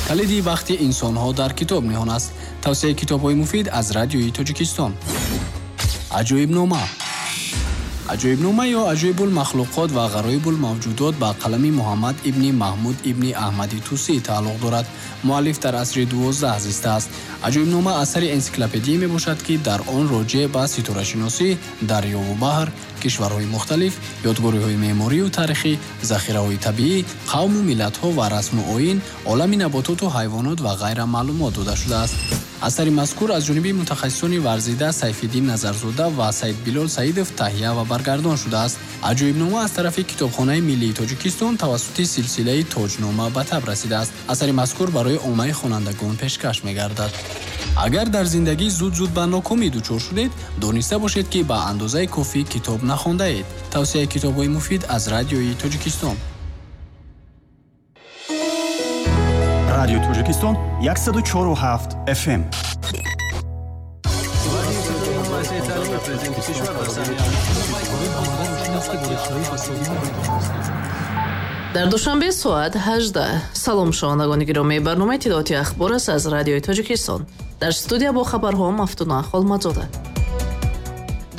Калиди бахти инсонҳо дар китоб ниҳон аст. Тавсияи китобҳои муфид аз Радиои Тоҷикистон. Аҷоибнома. Аҷоибнома ё Аҷоибулмахлуқот ва ғароибулмавҷудот ба қалами Муҳаммад ибни Маҳмуд ибни Аҳмади Тусӣ тааллуқ дорад. Муаллиф дар асри 12 зистааст. Аҷоибнома асари энсиклопедия мебошад, ки дар он роҷеъ ба ситорашиносӣ, дарёву баҳр, кишварҳои мухталиф, ёдгориҳои меъморию таърихӣ, захираҳои табиӣ, қавму миллатҳо ва расму оин, олами набототу ҳайвонот ва ғайра маълумот дода шудааст. Асари мазкур аз ҷониби мутахассисони варзида Сайфиддин Назарзода ва Саидбилол Саидов таҳия ва баргардон шудааст. Аҷоибнома аз тарафи Китобхонаи миллии Тоҷикистон тавассути силсилаи Тоҷнома ба таб расидааст. Асари мазкур барои оммаи хонандагон пешкаш мегардад. Агар дар зиндагӣ зуд-зуд ба нокомӣ дучор шудед, дониста бошед, ки ба андозаи кофӣ китоб нахондаед. Тавсияи китобҳои муфид аз Радиои Тоҷикистон. Радиои Тоҷикистон 104,7 FM. Дар Душанбе соат 18. Салом, шунавандагони гиромӣ, барномаи иттилооти ахбор аст аз Радиои Тоҷикистон. Дар студия бо хабарҳо Мафтуна Холмадзода.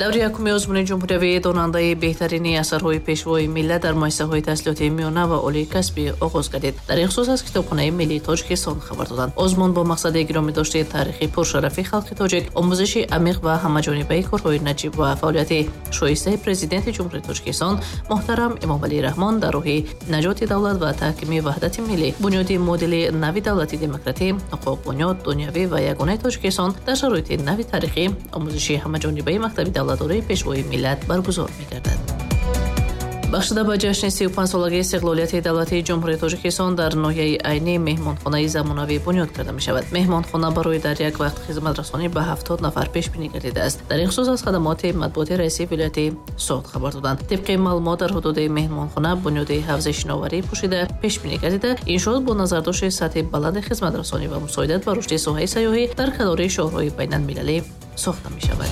Даври якуми озмуни ҷумҳуриявии донандаи беҳтарини асарҳои пешвои миллат дар муассисаҳои таҳсилоти миёна ва олии касбӣ оғоз гардид. Дар ин хусус аз Китобхонаи миллии Тоҷикистон хабар доданд. Озмун бо мақсади гиромӣ дошти таърихи пуршарафи халқи тоҷик, омӯзиши амиқ ва ҳамаҷонибаи корҳои наҷиб ва фаъолияти шоистаи Президенти Ҷумҳурии Тоҷикистон муҳтарам Эмомалӣ Раҳмон дар роҳи наҷоти давлат ва таҳкими ваҳдати миллӣ, бунёди модели нави давлати демократӣ, ҳуқуқбунёд, дунявӣ ва ягонаи Тоҷикистон дар шароити нави таърихӣ, омӯзиши ҳамаҷонибаи мактаби давлатдории пешвои миллат баргузор мегардад. Бахшида ба ҷашни 35-солагии истиқлолияти давлатии Ҷумҳурии Тоҷикистон дар ноҳияи Айнӣ меҳмонхонаи замонавӣ бунёд карда мешавад. Меҳмонхона барои дар як вақт хизматрасонӣ ба 70 нафар пешбинӣ гардидааст. Дар ин хусус аз хадамоти матбуоти раиси вилояти Суғд хабар доданд. Тибқи маълумот, дар ҳудуди меҳмонхона бунёди ҳавзи шиноварӣ пӯшида пешбинӣ гардида, иншоот бо назардошти сатҳи баланди хизматрасонӣ ва мусоидат ба рушди соҳаи сайёҳӣ дар канори шоҳроҳи байналмилалӣ сохта мешавад.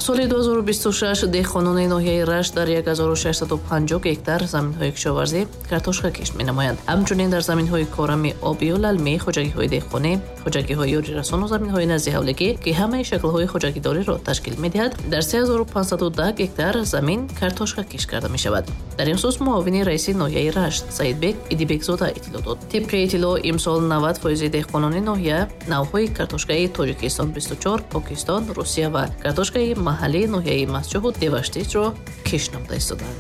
Соли 2026 деҳқонони ноҳияи Рашт дар 1650 гектар заминҳои кишоварзӣ картошка кишт менамоянд. Ҳамчунин дар заминҳои корами обию лалмӣ, хоҷагиҳои деҳқонӣ, хоҷагиҳои ёрирасону заминҳои назди ҳавлигӣ, ки ҳамаи шаклҳои хоҷагидориро ташкил медиҳад, дар 3510 гектар замин картошка кишт карда мешавад. Дар ин хусус муовини раиси ноҳияи Рашт Саидбек Идибекзода иттилоъ дод. Тибқи иттилоъ, имсол 90% деҳқонони ноҳия навъҳои картошкаи Тоҷикистон 24, Покистон, Русия ва картошкаи маҳаллии ноҳияи Мастчоҳу Деваштичро кишт намуда истодаанд.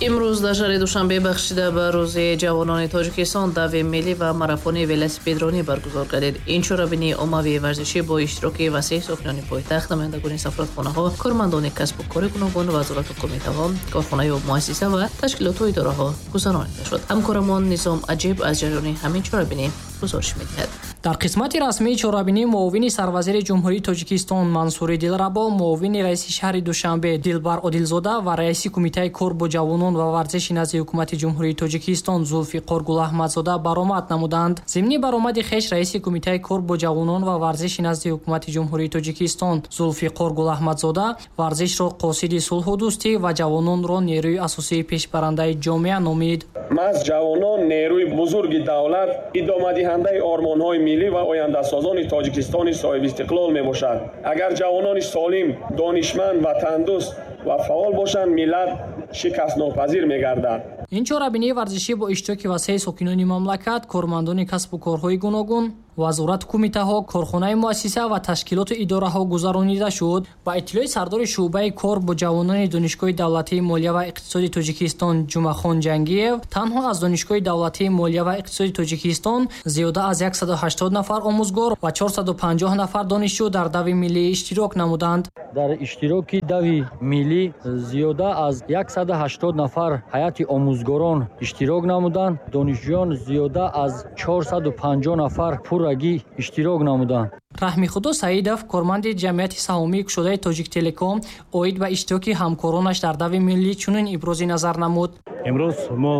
Имрӯз дар шаҳри Душанбе бахшида ба Рӯзи ҷавонони Тоҷикистон дави миллӣ ва марафони велосипедронӣ баргузор гардид. Ин чорабинии оммавии варзишӣ бо иштироки васеи сокинони пойтахт, намояндагони сафоратхонаҳо, кормандони касбу кори гуногун, вазорату кумитаҳо, корхонаю муассиса ва ташкилоту идораҳо гузаронида шуд. Ҳамкорамон Низом Аҷиб аз ҷараёни ҳамин чорабинӣ гузориш медиҳад. Дар қисмати расмии чорабинӣ муовини сарвазири Ҷумҳурии Тоҷикистон Мансури Дилрабо, муовини раиси шаҳри Душанбе Дилбар Одилзода ва раиси Кумитаи кор бо ҷавонон ва варзиши назди Ҳукумати Ҷумҳурии Тоҷикистон Зулфиқор Гулаҳмадзода баромад намуданд. Зимни баромади хеш раиси Кумитаи кор бо ҷавонон ва варзиши назди Ҳукумати Ҷумҳурии Тоҷикистон Зулфиқор Гулаҳмадзода варзишро қосиди сулҳу дӯстӣ ва ҷавононро нерӯи асосии пешбарандаи ҷомеа номид. Маҳз ҷавонон нерӯи бузурги давлат, идомадиҳандаи ормонҳои миллӣ ва ояндасозони Тоҷикистони соҳибистиқлол мебошад. Агар ҷавонони солим, донишманд, ватандӯст ва фаъол бошанд, миллат шикастнопазир мегардад. Ин чорабинии варзишӣ бо иштироки васеи сокинони мамлакат, кормандони касбу корҳои гуногун, вазорату кумитаҳо, корхонаи муассиса ва ташкилоту идораҳо гузаронида шуд. Ба иттилои сардори шӯъбаи кор бо ҷавонони Донишгоҳи давлатии молия ва иқтисоди Тоҷикистон Ҷумъахон Ҷангиев, танҳо аз Донишгоҳи давлатии молия ва иқтисоди Тоҷикистон зиёда аз 180 нафар омӯзгор ва 450 нафар донишҷӯ дар дави миллӣ иштирок намуданд. Дар иштироки дави миллӣ зиёда аз 180 нафар ҳайати омӯзгорон иштирок намуданд. Донишҷӯён зиёда аз 450 нафар пуррагӣ иштирок намуданд. Раҳмихудо Саидов, корманди ҷамъияти саҳомии кушодаи Тоҷиктелеком, оид ба иштироки ҳамкоронаш дар дави миллӣ чунин ибрози назар намуд. Имрӯз мо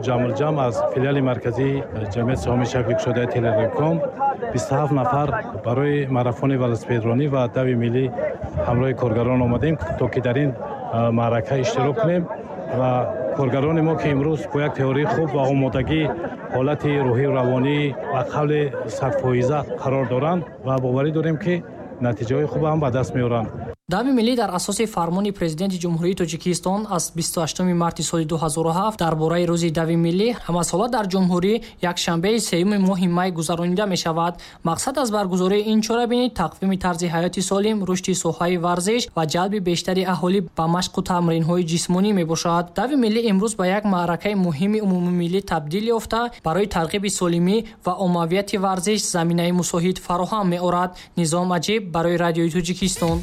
ҷамъулҷамъ аз филиали марказии ҷамъияти саҳомии шакли кушодаи Телеком 27 нафар барои марафони велосипедронӣ ва дави миллӣ ҳамроҳи коргарон омадем, то ки дар ин маърака иштирок кунем. Ва коргарони мо, ки имрӯз бо як теорияи хуб ва омодагӣ, ҳолати рӯҳию равонӣ ба қавли 100% қарор доранд ва боварӣ дорем, ки натиҷаҳои хуб ҳам ба даст меоранд. Дави миллӣ дар асоси фармони Президенти Ҷумҳурии Тоҷикистон аз 28 марти соли 2007 дар бораи рӯзи дави миллӣ ҳамасола дар ҷумҳурӣ якшанбеи сеюми моҳи май гузаронида мешавад. Мақсад аз баргузории ин чорабинӣ тақвими тарзи ҳаёти солим, рушди соҳаи варзиш ва ҷалби бештари аҳолӣ ба машқу тамринҳои ҷисмонӣ мебошад. Дави миллӣ имрӯз ба як маъракаи муҳими умумимиллӣ табдил ёфта, барои тарғиби солимӣ ва оммавияти варзиш заминаи мусоид фароҳам меорад. Низом Аҷиб барои Радиои Тоҷикистон.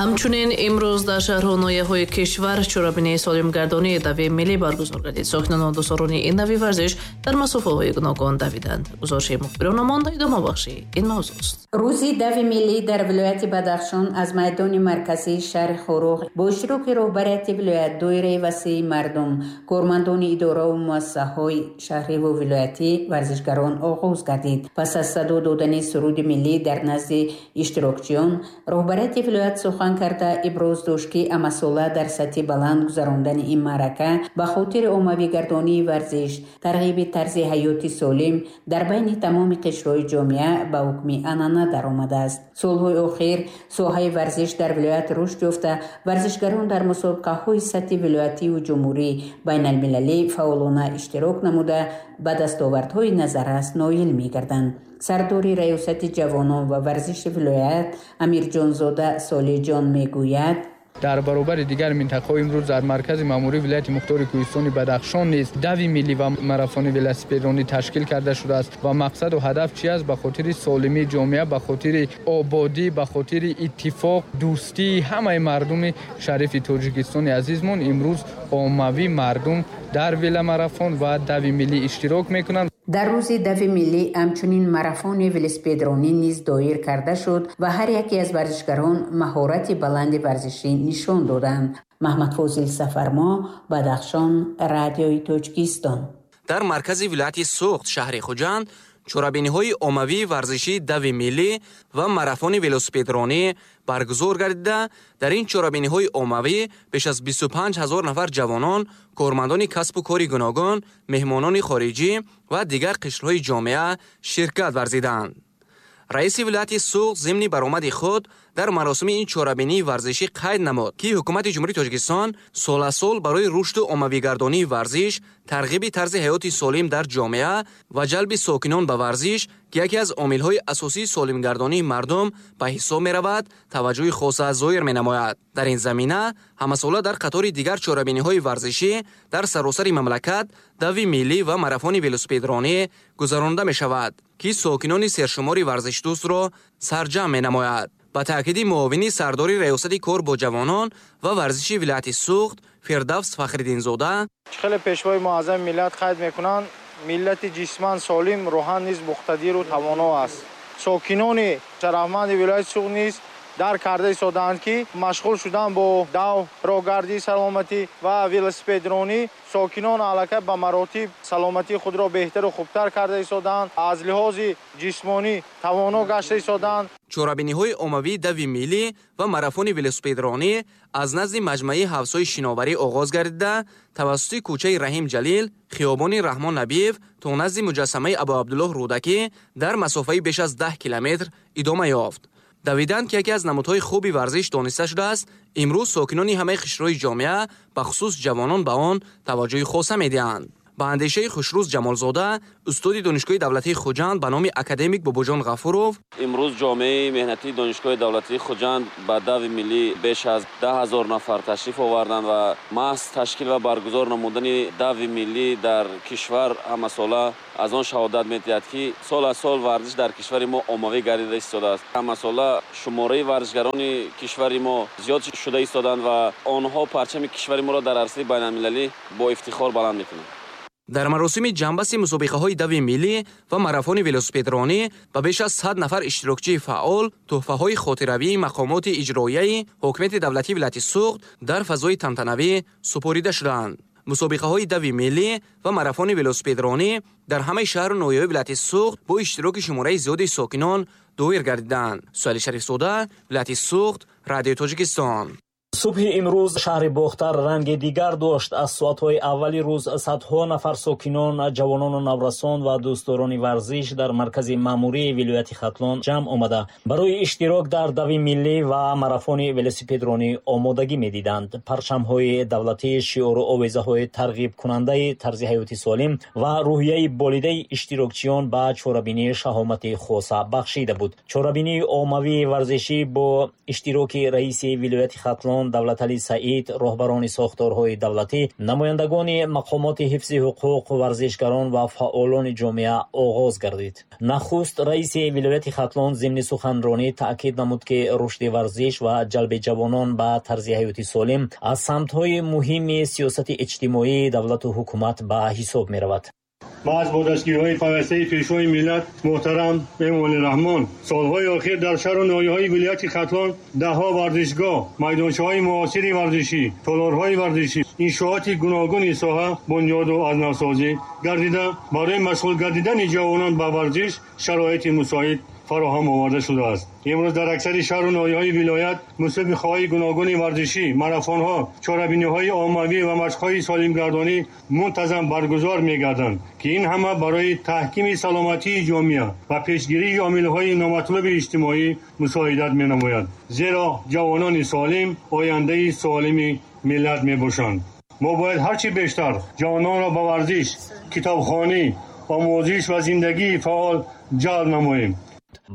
Ҳамчунин имрӯз дар шаҳру ноҳияҳои кишвар чорабинии солимгардонии дави миллӣ баргузор гардид. Сокинону дӯстдорони ин нави варзиш дар масофаҳои гуногун давиданд. Гузориши мухбиронамон идомабахши ин мавзӯст. Рӯзи дави миллӣ дар вилояти Бадахшон аз майдони марказии шаҳри Хоруғ бо иштироки роҳбарияти вилоят, доираи васеи мардум, кормандони идораву муассисаҳои шаҳриву вилоятӣ, варзишгарон оғоз гардид. Пас аз садо додани суруди миллӣ дар назди иштирокчиён, роҳбарияти вилоят сухан карда иброз дошт, ки ҳамасола дар сатҳи баланд гузарондани ин маърака ба хотири оммавигардонии варзиш, тарғиби тарзи ҳаёти солим дар байни тамоми қишрҳои ҷомеа ба ҳукми анъана даромадааст. Солҳои охир соҳаи варзиш дар вилоят рушд ёфта, варзишгарон дар мусобиқаҳои сатҳи вилоятиву ҷумҳурӣ, байналмилалӣ фаъолона иштирок намуда, ба дастовардҳои назаррас ноил мегарданд. Сардори раёсати ҷавонон ва варзиши вилоят Амирҷонзода Солиҷон мегӯяд: Дар баробари дигар минтақаҳо имрӯз дар маркази маъмурии вилояти мухтори кӯҳистони Бадахшон низ дави миллӣ ва марафони велосипедронӣ ташкил карда шудааст. Ва мақсаду ҳадаф чи аст? Ба хотири солимии ҷомеа, ба хотири ободӣ, ба хотири иттифоқ, дӯстии ҳамаи мардуми шарифи Тоҷикистони азизмон имрӯз оммавӣ мардум дар веломарафон ва дави миллӣ иштирок мекунанд. Дар рӯзи дави миллӣ ҳамчунин марафони велосипедронӣ низ доир карда шуд ва ҳар яке аз варзишгарон маҳорати баланди варзишӣ нишон доданд. Маҳмадфозил Сафармо, Бадахшон, Радиои Тоҷикистон. Дар маркази вилояти Суғд, шаҳри Хуҷанд, чорабиниҳои оммавии варзишии дави миллӣ ва марафони велосипедронӣ баргузор гардида, дар ин чорабиниҳои оммавӣ беш аз 25 ҳазор нафар ҷавонон, кормандони касбу кори гуногун, меҳмонони хориҷӣ ва дигар қишрҳои ҷомеа ширкат варзиданд. Раиси вилояти Суғд зимни баромади худ дар маросими ин чорабинии варзишӣ қайд намуд, ки ҳукумати Ҷумҳурии Тоҷикистон сол аз сол барои рушду оммавигардонии варзиш, тарғиби тарзи ҳаёти солим дар ҷомеа ва ҷалби сокинон ба варзиш, ки яке аз омилҳои асосии солимгардонии мардум ба ҳисоб меравад, таваҷҷӯҳи хоса зоҳир менамояд. Дар ин замина ҳамасола дар қатори дигар чорабиниҳои варзишӣ дар саросари мамлакат дави миллӣ ва марафони велосипедронӣ гузаронда мешавад, ки сокинони сершумори варзишдӯстро сарҷамъ менамояд. Ба таъкиди муовини сардори раёсати кор бо ҷавонон ва варзиши вилояти Суғд Фирдавс Фахриддинзода: Хеле пешвои муаззами миллат қайд мекунанд, миллати ҷисман солим рӯҳан низ муқтадиру тавоно аст. Сокинони шарафманди вилояти Суғд низ дарк карда истодаанд, ки машғул шудан бо дав, роҳгардии саломатӣ ва велосипедронӣ сокинон аллакай ба маротиб саломатии худро беҳтару хубтар карда истодаанд, аз лиҳози ҷисмонӣ тавоно гашта истодаанд. Чорабиниҳои оммавии дави миллӣ ва марафони велосипедронӣ аз назди маҷмааи ҳавзҳои шиноварӣ оғоз гардида, тавассути кӯчаи Раҳим Ҷалил, хиёбони Раҳмон Набиев то назди муҷассамаи Абуабдуллоҳ Рӯдакӣ дар масофаи беш аз 10 километр идома ёфт. Давидан, ки яке аз намудҳои хуби варзиш дониста шудааст, имрӯз сокинони ҳамаи қишрҳои ҷомеа, бахусус ҷавонон, ба он таваҷҷӯҳи хоса медиҳанд. Ба андешаи Хушрӯз Ҷамолзода, устоди Донишгоҳи давлатии Хуҷанд ба номи академик Бобоҷон Ғафуров: Имрӯз ҷомеаи меҳнатии Донишгоҳи давлатии Хуҷанд ба дави миллӣ беш аз 10 000 нафар ташриф оварданд ва маҳз ташкил ва баргузор намудани дави миллӣ дар кишвар ҳамасола аз он шаҳодат медиҳад, ки сол аз сол варзиш дар кишвари мо оммавӣ гардида истодааст. Ҳамасола шумораи варзишгарони кишвари мо зиёд шуда истоданд ва онҳо парчами кишвари моро дар арсаи байналмилалӣ бо ифтихор баланд мекунанд. Дар маросими ҷамъбасти мусобиқаҳои дави миллӣ ва марафони велосипедронӣ ба беш аз 100 нафар иштирокчии фаъол тӯҳфаҳои хотиравии мақомоти иҷроияи ҳокимияти давлатии вилояти Суғд дар фазои тантанавӣ супорида шуданд. Мусобиқаҳои дави миллӣ ва марафони велосипедронӣ дар ҳамаи шаҳру ноҳияҳои вилояти Суғд бо иштироки шумораи зиёди сокинон доир гардиданд. Суҳайли Шарифзода, вилояти Суғд, Радиои Тоҷикистон. Субҳи имрӯз шаҳри Бохтар ранги дигар дошт. Аз соатҳои аввали рӯз садҳо нафар сокинон, ҷавонону наврасон ва дӯстдорони варзиш дар маркази маъмурии вилояти Хатлон ҷамъ омада, барои иштирок дар дави миллӣ ва марафони велосипедронӣ омодагӣ медиданд. Парчамҳои давлатӣ, шиору овезаҳои тарғибкунандаи тарзи ҳаёти солим ва рӯҳияи болидаи иштирокчиён ба чорабинӣ шаҳомати хоса бахшида буд. Чорабинии оммавии варзишӣ бо иштироки раиси вилояти Хатлон Давлаталӣ Саид, роҳбарони сохторҳои давлатӣ, намояндагони мақомоти ҳифзи ҳуқуқ, варзишгарон ва фаъолони ҷомеа оғоз гардид. Нахуст раиси вилояти Хатлон зимни суханронӣ таъкид намуд, ки рушди варзиш ва ҷалби ҷавонон ба тарзи ҳаёти солим аз самтҳои муҳими сиёсати иҷтимоии давлату ҳукумат ба ҳисоб меравад. Маҳз бо дастгириҳои пайвастаи Пешвои миллат муҳтарам Эмомалӣ Раҳмон солҳои охир дар шаҳру ноҳияҳои вилояти Хатлон даҳҳо варзишгоҳ, майдончаҳои муосири варзишӣ, толорҳои варзишӣ, иншооти гуногуни соҳа бунёду аз навсозӣ гардида, барои машғул гардидани ҷавонон ба варзиш шароити мусоид фароҳам оварда шудааст. Имрӯз дар аксари шаҳру ноҳияҳои вилоят мусобиқаҳои гуногуни варзишӣ, марафонҳо, чорабиниҳои оммавӣ ва машқҳои солимгардонӣ мунтазам баргузор мегарданд, ки ин ҳама барои таҳкими саломатии ҷомеа ва пешгирии омилҳои номатлуби иҷтимоӣ мусоидат менамояд. Зеро ҷавонони солим ояндаи солими миллат мебошанд. Мо бояд ҳарчи бештар ҷавононро ба варзиш, китобхонӣ, омӯзиш ва зиндагии фаъол ҷалб намоем.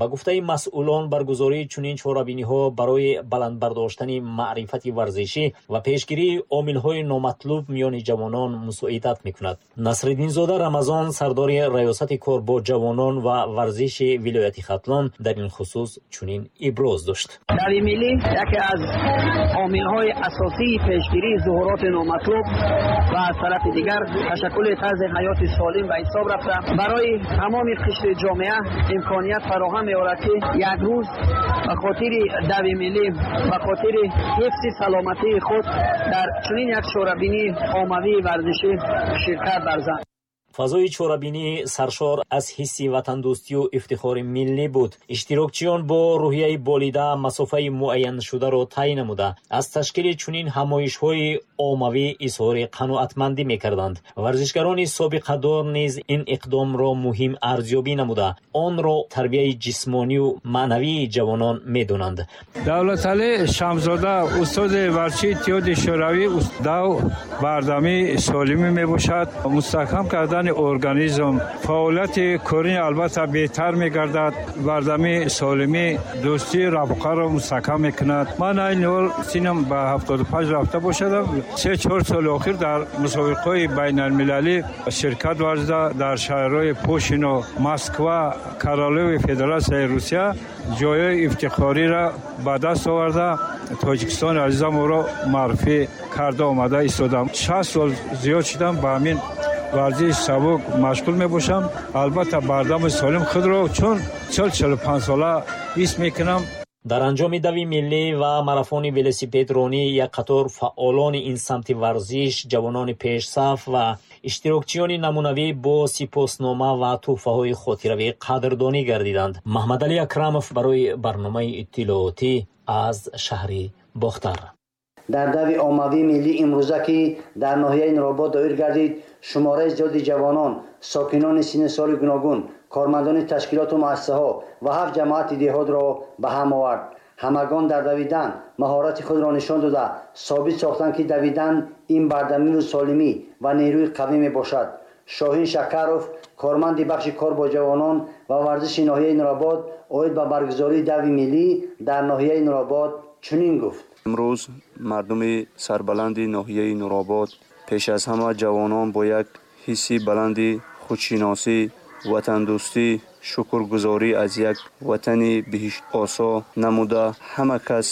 Ба гуфтаи масъулон, баргузории чунин чорабиниҳо барои баланд бардоштани маърифати варзишӣ ва пешгирии омилҳои номатлуб миёни ҷавонон мусоидат мекунад. Насриддинзода Рамазон, сардори раёсати кор бо ҷавонон ва варзиши вилояти Хатлон, дар ин хусус чунин иброз дошт. Дави миллӣ яке аз омилҳои асосии пешгирии зуҳуроти номатлуб ва аз тарафи дигар ташаккули тарзи ҳаёти солим ба ҳисоб рафта, барои тамоми қишри ҷомеа имконият фароҳам меорад, ки як рӯз ба хотири дави миллӣ, ба хотири ҳифзи саломатии худ дар чунин як чорабинии оммавии варзишӣ ширкат варзанд. Фазои чорабинӣ саршор аз ҳисси ватандӯстию ифтихори миллӣ буд. Иштирокчиён бо рӯҳияи болида масофаи муайяншударо тай намуда, аз ташкили чунин ҳамоишҳои оммавӣ изҳори қаноатмандӣ мекарданд. Варзишгарони собиқадор низ ин иқдомро муҳим арзёбӣ намуда, онро тарбияи ҷисмонию маънавии ҷавонон медонанд. Давлаталӣ Шамсзода, устоди варзиши Иттиҳоди Шӯравӣ. Дав бардамии солимӣ мебошад. Мустаҳкам кардани организм, фаъолияти корини албатта беҳтар мегардад. Бардамии солимӣ дӯстии рафоқаро мустаҳкам мекунад. Ман айни ҳол синам ба 75 рафта бошадам. 3-4 соли охир дар мусобиқаҳои байналмилалӣ ширкат варзида, дар шаҳрҳои Пушино, Москва, Королеви Федератсияи Русия ҷойҳои ифтихориро ба даст оварда, Тоҷикистони азизамонро муаррифӣ карда омада истодам. 60 сол зиёд шудам ба ҳамин варзиши сабук машғул мебошам. Албатта бардами солим худро чун 40-45 сола ҳис мекунам. Дар анҷоми дави миллӣ ва марафони велосипедронӣ як қатор фаъолони ин самти варзиш, ҷавонони пешсаф ва иштирокчиёни намунавӣ бо сипоснома ва тӯҳфаҳои хотиравӣ қадрдонӣ гардиданд. Маҳмадалӣ Акрамов барои барномаи иттилоотӣ аз шаҳри Бохтар. Дар дави оммавии миллӣ имрӯза, ки дар ноҳияи Нуробод доир гардид, шумораи зиёди ҷавонон, сокинони синну соли гуногун, кормандони ташкилоту муассисаҳо ва ҳафт ҷамоати деҳотро ба ҳам овард. Ҳамагон дар давидан маҳорати худро нишон дода, собит сохтанд, ки давидан ин бардамию солимӣ ва нерӯи қавӣ мебошад. Шоҳин Шакаров, корманди бахши кор бо ҷавонон ва варзиши ноҳияи Нуробод, оид ба баргузории дави миллӣ дар ноҳияи Нуробод чунин гуфт. Имрӯз мардуми сарбаланди ноҳияи Нуробод, пеш аз ҳама ҷавонон, бо як ҳисси баланди худшиносӣ, ватандӯстӣ, шукргузорӣ аз як ватани биҳиштосо намуда, ҳама кас